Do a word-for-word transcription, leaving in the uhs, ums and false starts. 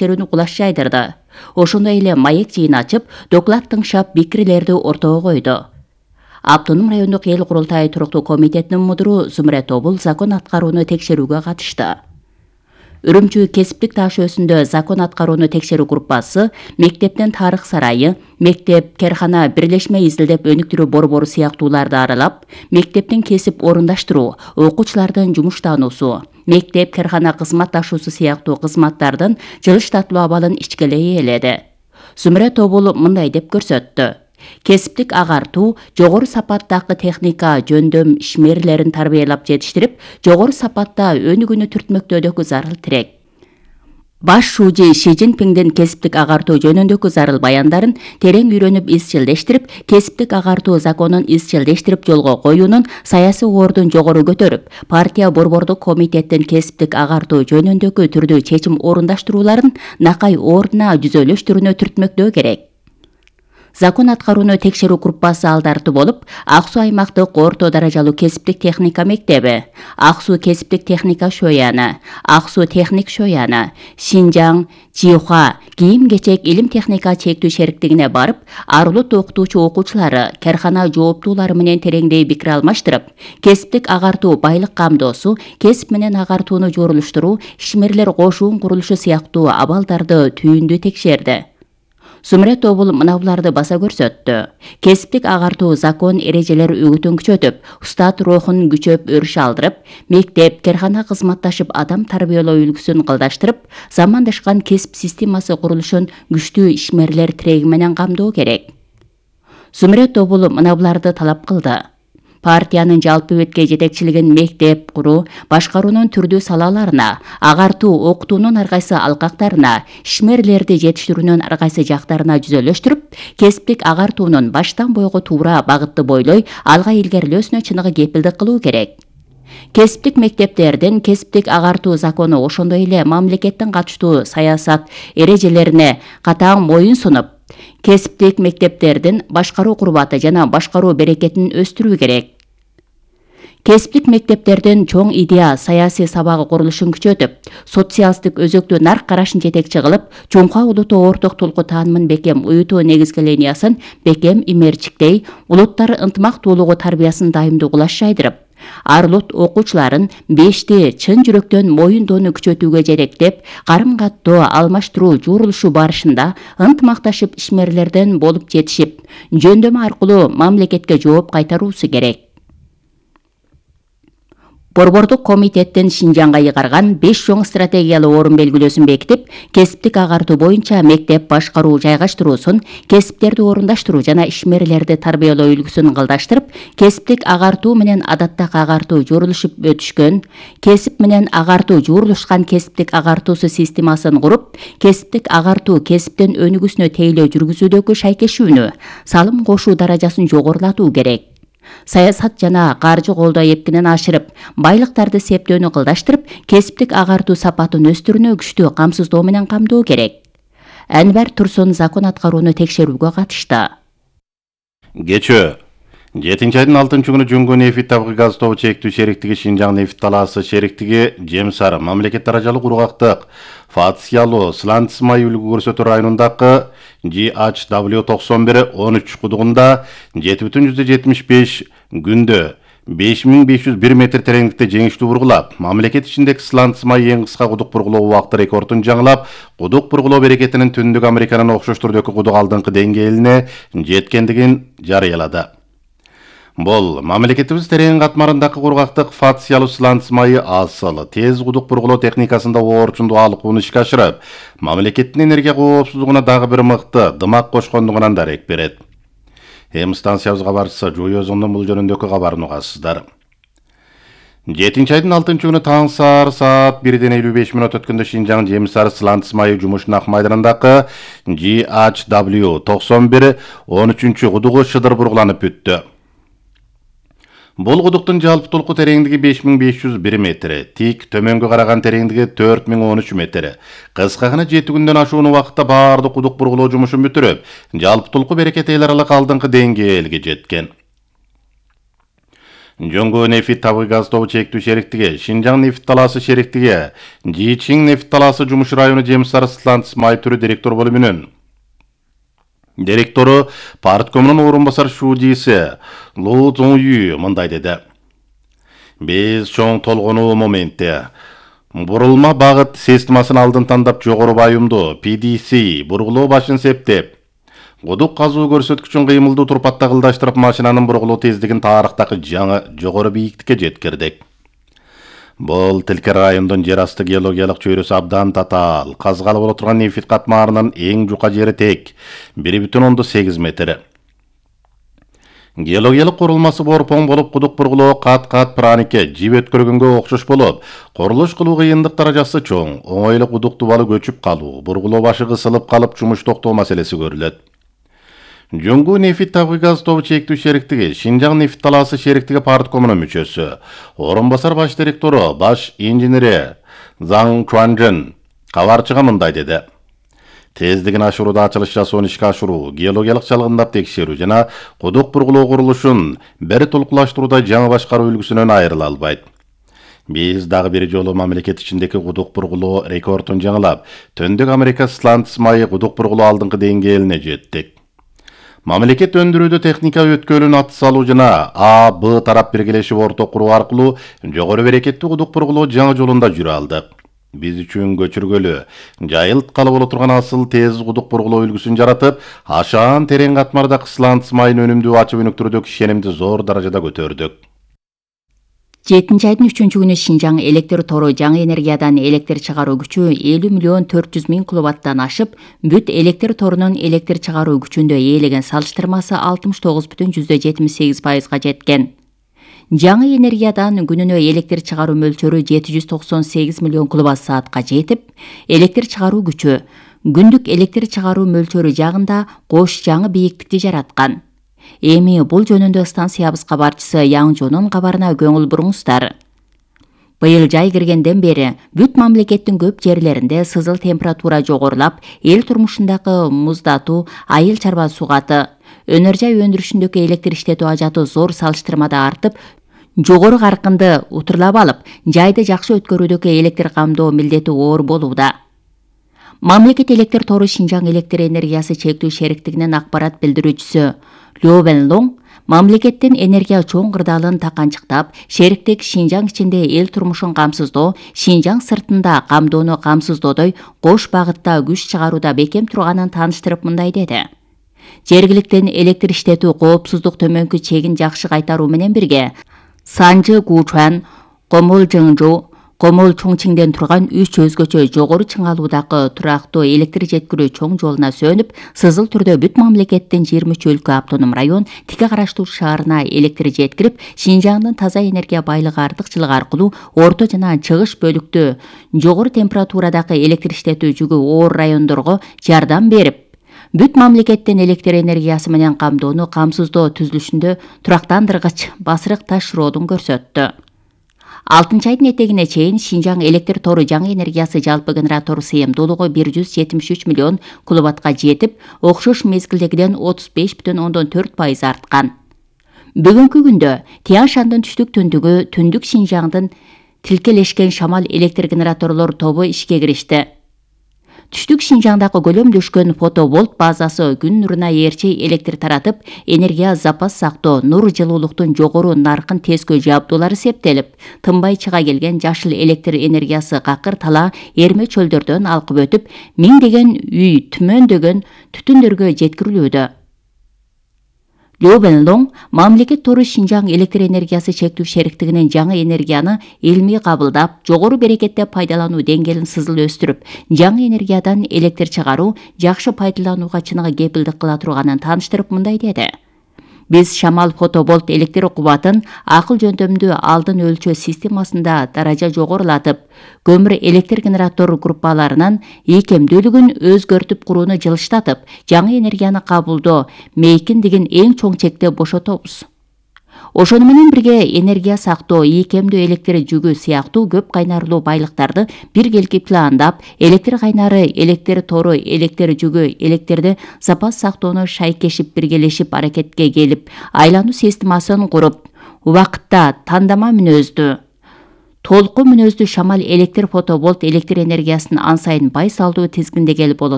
текшерүүнү кулаш жайдырды. Ошондой эле маек жыйын ачып, доклад тыңшап, пикирлерди ортого койду. Автоном райондук эл курултайы туруктуу комитетинин мудуру Зумре Тобул закон аткарууну текшерүүгө катышты. Үрүмчү кесиптик таш өсүндө закон аткарууну текшерүү группасы мектептин тарых сарайы, мектеп, керхана, бирлешме изилдеп өнүктүрүү борбору сыяктууларды аралап, мектептин кесип орундаштыруу, окуучулардын жумуштануусу, мектеп, керхана кызматташуусу сыяктуу кызматтардын жылыштатылуу абалын ичкелей ээледи. Зумре Тобул мындай деп көрсөттү. Кесиптик агартуу жогору сапаттагы техника жөндөм ишмерлерин тарбиялап жетиштирип, жогору сапатта өнүгүүнү түртмөктөөдөгү зарыл тирек. Баш шужи Ши Цзиньпиңдин кесиптик агартуу жөнүндөгү зарыл баяндарын терең үйрөнүп изчилдештирип, кесиптик агартуу законун изчилдештирип жолго коюунун саясий ордун жогору көтөрүп, партия борбордук комитеттин кесиптик агартуу жөнүндөгү түрдүү чечим орундаштырууларын накай ордуна жүзөлөштүрүүнү түртмөктөө керек. Закон аткарууну текшерүү группасы алдарты болуп, Ак Суу аймактык орто даражалуу кесиптик техника мектеби, Ак Суу кесиптик техника шояны, Ак Суу техник шояны, Шинжаң, Жиуха кийим-кечек илим техника чектүү шериктигине барып, арулут окутуучу окуучулары, керхана жооптуулары менен тереңдей пикир алмаштырып, кесиптик агартуу байлык камдоосу, кесип менен агартууну жорулуштуруу, ишмерлер кошуун курулушу сыяктуу абалдарды түйүндүү текшерди. Зумре Тобул мына буларды баса көрсөттү. Кесиптик агартуу закон эрежелер үгүтүн күчөтүп, устат рухун күчөп өрүш алдырып, мектеп, керхана кызматташып адам тарбиялоо үлгүсүн кылдаштырып, замандашкан кесип системасы курулушун күчтүү ишмерлер тиреги менен камдоо керек. Зумре Тобул мына буларды талап кылды. Партиянын жалпы бетке жетекчилигин мектеп куруу, башкаруунун түрдүү салаларына, агартуу, окутуунун ар кайсы алкактарына, ишмерлерди жетиштирүүнүн ар кайсы жактарына жүзөлөштүрүп, кесиптик агартуунун баштан бойго туура багытты бойлой алга илгерилөөсүнө чыныгы кепилдик кылуу керек. Кесиптик мектептердин кесиптик агартуу закону ошондой эле мамлекеттин катыштуу саясат эрежелерине катаң моюн сунуп, кесиптик мектептердин башкаруу курбаты жана башкаруу берекетин өстүрүү керек. Кесиптик мектептердин чоң идея саясий сабагы курулушун күчөтүп, социалисттик өзөктүү нарк карашын жетекчи кылып, чоңка улуттуу орток толку таанымын бекем уютуу негизги линиясын бекем имерчиктей, улуттар ынтымактуулугу тарбиясын дайымдуу кулаш жайдырып, ар улут окуучуларын бешти чын жүрөктөн моюндоону күчөтүүгө жетектеп, карым каттоо алмаштыруу журулушу барышында ынтымакташып ишмерлерден болуп жетишип, жөндөмө аркылуу мамлекетке жооп кайтаруусу керек. Борбордук комитеттин Шинжаңга ыйгарган беш чоң стратегиялуу орун белгилөөсүн бекитип, кесиптик агартуу боюнча мектеп башкаруу жайгаштыруусун, кесиптерди орундаштыруу жана ишмерлерди тарбиялоо үлгүсүн кылдаштырып, кесиптик агартуу менен адаттагы агартуу журулушуп өтүшкөн, кесип менен агартуу журулушкан кесиптик агартуусу системасын куруп, кесиптик агартуу кесиптин өнүгүүсүнө тейлөө жүргүзүүдөгү шайкешүүнү, салым кошуу даражасын жогорулатуу керек. Саясат жана каржы колдоо эптенен ашырып, байлыктарды септөөнү кылдаштырып, кесиптик агартуу сапатын өстүрүүнү күчтүү камсыздоо менен камдоо керек. Анвар Турсун закон аткарууну текшерүүгө катышты. Кечөө жетинчи айдын алтынчы күнү Жөнгө нефть табигый газ тобу чектүү шериктиги Шинжаң нефть талаасы шериктиги Жем Сары мамлекет даражалуу кургактык Фатсиялуу Сланц май үлгү көрсөтүү районундагы G H W токсон бир он үч кудугунда жети бүтүн жүздөн жетимиш беш күндө беш миң беш жүз бир метр тереңдикте жеңиштүү бургулап, мамлекет ичиндеги Сланц май эң кыска кудук бургулоо убакыты рекордун жаңылап, кудук бургулоо берекетинин Түндүк Американын окшош түрдөгү кудук алдыңкы деңгээлине жеткендигин жарыялады. Бул мамлекетибиз терең катмарындагы кургактык Фатсиялуу Сланц майы асыл, тез кудук бургулоо техникасында орчундуу алыкууну ишке ашырып, мамлекеттин энергия коопсуздугуна дагы бир мыкты дымак кошкондугунан дарек берет. Эм станциябыз кабарчысы Жуйозондон бул жөнүндөгү кабарын угасыздар. жетинчи айдын алтынчы күнү таң саар саат бирден элүү беш мүнөт өткөндө Шинжаң Жем Сары Сланц майы жумушунак майданындагы G H W токсон бир он үчүнчү кудугу шыдыр бургуланып бүттү. Бул кудуктун жалпы толку тереңдиги беш миң беш жүз бир метр, тик төмөнгө караган тереңдиги төрт миң он үч метр. Кыска гана жети күндөн ашуун убакытта баардык кудук бургулоо жумушун бүтүрүп, жалпы толку берекет эл аралык алдыңкы деңгээлге жеткен. Жоңго нефть табыгы газдоо чектүү шериктиги, Шинжаң нефть талаасы шериктиги, Жичиң нефть талаасы жумуш району жем сары сланец май түрү директор бөлүмүнүн директору парткомунун орун басар шуудиси Лу Цзоңю мындай деди. Биз чоң толгонуу моментте бурулма багыт системасын алдын тандап жогору байымдуу P D C бургулоо башын септеп, кудук казуу көрсөткүчүн кыймылдуу турпатта кылдаштырып машинанын бургулоо тездигин тарыхтагы жаңы жогору бийиктикке жеткирдик. Бул тилке райондун жер асты геологиялык чөйрөсү абдан татаал, казгалы боло турган нефть катмарынын эң жука жери тек бир бүтүн ондон сегиз метр. Геологиялык курулмасы борпоң болуп, кудук бургулоо кат-кат праникке жип өткөргөнгө окшош болуп, курулуш кылуу кыйындык даражасы чоң, оңойлуу кудук тубалы көчүп калуу, бургулоо башы кысылып калып жумуш токтоо маселеси көрүлөт. Жоңго нефть табыгы газдоо чектүү шериктиги, Шинжаң нефть талаасы шериктиги парткомунун мүчөсү, орун басар баш директору, баш инженери Заң Чуанжын кабарчыга мындай деди. Тездигин ашырууда ачылыш жасоону ишке ашыруу, геологиялык чалгындап текшерүү жана кудук бургулоо курулушун бир толкулаштырууда жаңы башкаруу үлгүсүнөн айрыла албайт. Биз дагы бир жолу мамлекет ичиндеги кудук бургулоо рекордун жаңылап, Төндүк Америка сланец майы кудук бургулоо алдыңкы деңгээлине жеттик. Мамлекет өндүрүүдө техника өткөлүн аты салуу жана А, Б тарап биргелешип орток куруу аркылуу жогору берекеттүү кудук бургулоо жаңы жолунда жүрө алдык. Биз үчүн көчүргөлүү, жайылткалы боло турган асыл тез кудук бургулоо үлгүсүн жаратып, ашаан терең катмарда сланец майын өнүмдүү ачып өнүктүрүүдөгү ишенимди зор даражада көтөрдүк. жетинчи айдын үчүнчү күнү Шинжаң электр тору жаңы энергиядан электр чыгаруу күчү элүү миллион төрт жүз миң киловаттан ашып, бүт электр торунун электр чыгаруу күчүндө ээлеген салыштырмасы алтымыш тогуз бүтүн жүздөн жетимиш сегиз пайызга жеткен. Жаңы энергиядан күнүнө электр чыгаруу мөлчөрү жети жүз токсон сегиз миллион киловатт саатка жетип, электр чыгаруу күчү күндүк электр чыгаруу мөлчөрү жагында кош жаңы бийиктикти жараткан. Эми бул жөнүндө станциябыз кабарчысы Яң Жонун кабарына көңүл буруңуздар. Быйыл жай киргенден бери бүт мамлекеттин көп жерлеринде сызыл температура жогорулап, эл турмушундагы муздатуу, айыл чарба сугаты, өнөр жай өндүрүшүндөгү электр иштетүү ажаты зор салыштырмада артып, жогору каркынды утурлап алып, жайды жакшы өткөрүүдөгү электр камдоо милдети оор болууда. Мамлекет электр тору Шинжаң электр энергиясы чектүү шериктигинин акпарат билдирүүчүсү Лю Венлоң мамлекеттин энергия чоң кырдаалын таканчыктап, шериктик Шинжаң ичинде эл турмушун камсыздоо, Шинжаң сыртында камдоону камсыздоодой кош багытта күч чыгарууда бекем турганын тааныштырып мындай деди. Жергиликтен электр иштетүү коопсуздук төмөнкү чегин жакшы кайтаруу менен бирге, Санжы Гучуан, Комол Жыңжу, Комол Чоңчиңден турган үч өзгөчө жогору чыңалуудагы турактуу электр жеткирүү чоң жолуна сөнүп, сызыл түрдө бүт мамлекеттин жыйырма үч өлкө автоном район тике караштуу шаарына электр жеткирип, Шинжаңдын таза энергия байлыгы артыкчылыгы аркылуу орто жана чыгыш бөлүктө жогору температурадагы электр иштетүү жүгү оор райондорго жардам берип, бүт мамлекеттин электр энергиясы менен камдоону камсыздоо түзүлүшүндө турактандыргыч басырык ташыроодун көрсөттү. алтынчы айдын этегине чейин Шинжаң электр тору жаңы энергиясы жалпы генератору сыйымдуулугу бир жүз жетимиш үч миллион киловаттка жетип, окшош мезгилдегиден отуз беш бүтүн ондон төрт пайыз арткан. Бүгүнкү күндө Тянь Шандын түштүк түндүгү түндүк Шинжаңдын тилкелешкен шамал электр генераторлор тобу ишке киришти. Түштүк Шинжаңдагы көлөмдөшкөн фотоволт базасы күн нуруна ээрчей электр таратып, энергия запас сактоо, нур жылуулуктун жогору наркын тескөө жабдуулары септелип, тынбай чыга келген жашыл электр энергиясы какыр тала эрме чөлдөрдөн алкып өтүп, миңдеген үй, түмөндөгөн түтүндөргө жеткирилүүдө. Лю Венлоң мамлекет тору Шинжаң электр энергиясы чектүү шериктигинин жаңы энергияны илмий кабылдап, жогору берекетте пайдалануу деңгээлин сызыл өстүрүп, жаңы энергиядан электр чыгаруу жакшы пайдаланууга чыныгы кепилдик кыла турганын тааныштырып мындай деди. Биз шамал фотоволт электр кубатын акыл жөндөмдүү алдын өлчөө системасында даража жогорулатып, көмүр электр генератор группаларынын ийкемдүүлүгүн өзгөртүп курууну жылыштатып, жаңы энергияны кабылдоо мейкиндигин эң чоң чекте бошотобуз. Ошону менен бирге энергия сактоо, ийкемдүү электр жүгү сыяктуу көп кайнарлуу байлыктарды биргелки пландап, электр кайнары, электр тору, электр жүгү, электрди запас сактоону шайкешип биргелешип аракетке келип, айлануу системасын куруп, убакытта тандама мүнөздүү, толку мүнөздүү шамал электр фотоболт электр энергиясын ан сайын бай салдуу тизгиндегели болот